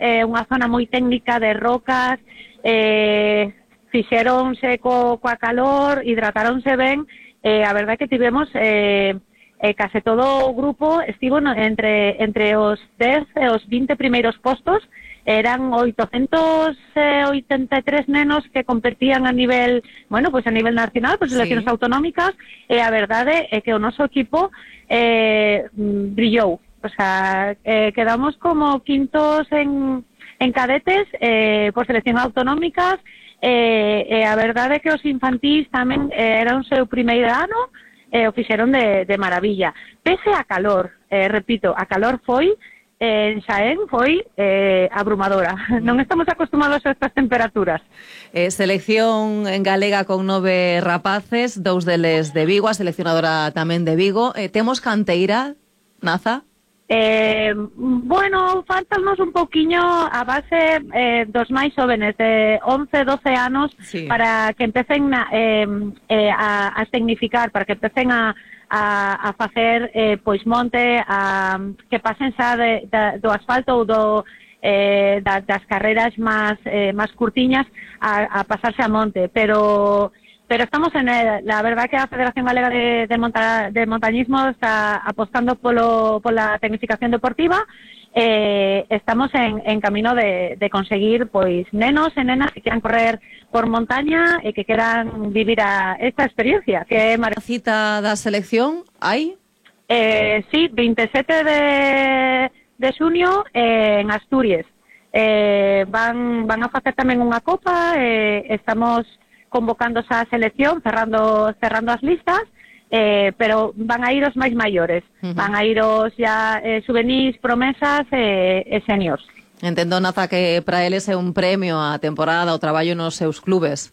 unha zona moi técnica de rocas, fixeronse coa calor, hidrataronse ben, a verdade que tivemos case todo o grupo estivo entre os 10 e os 20 primeiros postos. Eran 883 nenos que competían a nivel, bueno, pues a nivel nacional, pues selecciones autonómicas, e a verdade é que o noso equipo brillou. O sea, quedamos como quintos en cadetes por selección autonómicas, e a verdade é que os infantís tamén era o seu primeiro ano, o fixeron de maravilla. Pese a calor, repito, a calor foi en Xaén foi abrumadora. Non estamos acostumados a estas temperaturas. Selección en galega con 9 rapaces, 2 deles de Vigo, a seleccionadora tamén de Vigo. Temos canteira, Naza? Bueno, faltanos un pouquiño a base dos máis jóvenes de 11, 12 anos, para que empecen a tecnificar, para que empecen a facer pois monte, que pasen xa do asfalto ou das carreras máis curtiñas a pasarse a monte, pero estamos en la verdad que a Federación Galega de Montañismo está apostando pola tecnificación deportiva. Estamos en camino de conseguir pois nenos e nenas que quieran correr por montaña e que queran vivir esta experiencia que é maravillosa. Cita da selección hai? Sí, 27 de xunio en Asturias. Van a facer tamén unha copa, estamos convocando a selección, cerrando as listas, pero van a ir os máis maiores, van a ir os ya juvenis, promesas e seniors. Entendo, Naza, que para eles é un premio a temporada, o traballo nos seus clubes.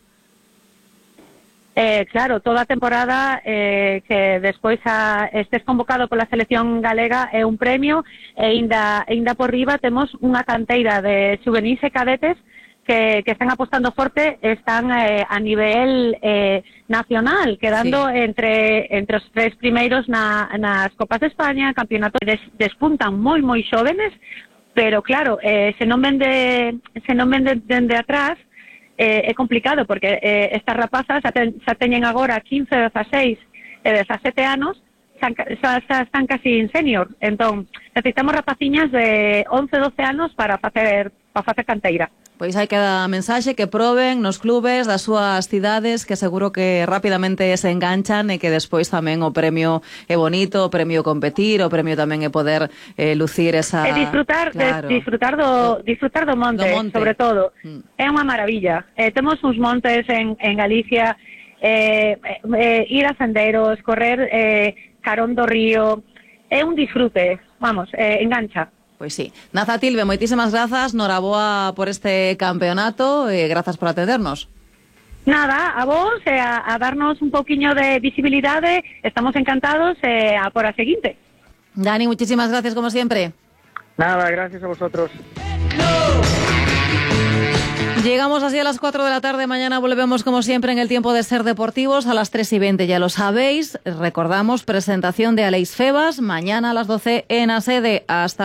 Claro, toda a temporada que despois estés convocado pola selección galega é un premio, e ainda por riba temos unha canteira de juvenis e cadetes que están apostando forte, están a nivel nacional, quedando entre os 3 primeiros nas Copas de España, campeonatos. Despuntan moi xóvenes, pero claro, se non ven dende atrás, é complicado, porque estas rapazas xa teñen agora 15, 16 e 17 anos, xa están casi en senior. Entón, necesitamos rapaciñas de 11, 12 anos para facer canteira. Pois hai que dar mensaxe, que proben nos clubes das súas cidades, que seguro que rapidamente se enganchan, e que despois tamén o premio é bonito, o premio competir, o premio tamén é poder lucir esa... E disfrutar do monte, sobre todo. É unha maravilla. Temos uns montes en Galicia, ir a senderos, correr carón do río, é un disfrute, vamos, engancha. Pois sí. Naza Tilbe, moitísimas grazas, noraboa por este campeonato, e grazas por atendernos. Nada, a vos, a darnos un pouquiño de visibilidade, estamos encantados, a por a seguinte. Dani, muchísimas gracias como siempre. Nada, gracias a vosotros. Llegamos así a las 4 de la tarde. Mañana volvemos como siempre en el tiempo de Ser Deportivos a las 3:20, ya lo sabéis. Recordamos, presentación de Aleix Febas mañana a las 12 en la sede. Hasta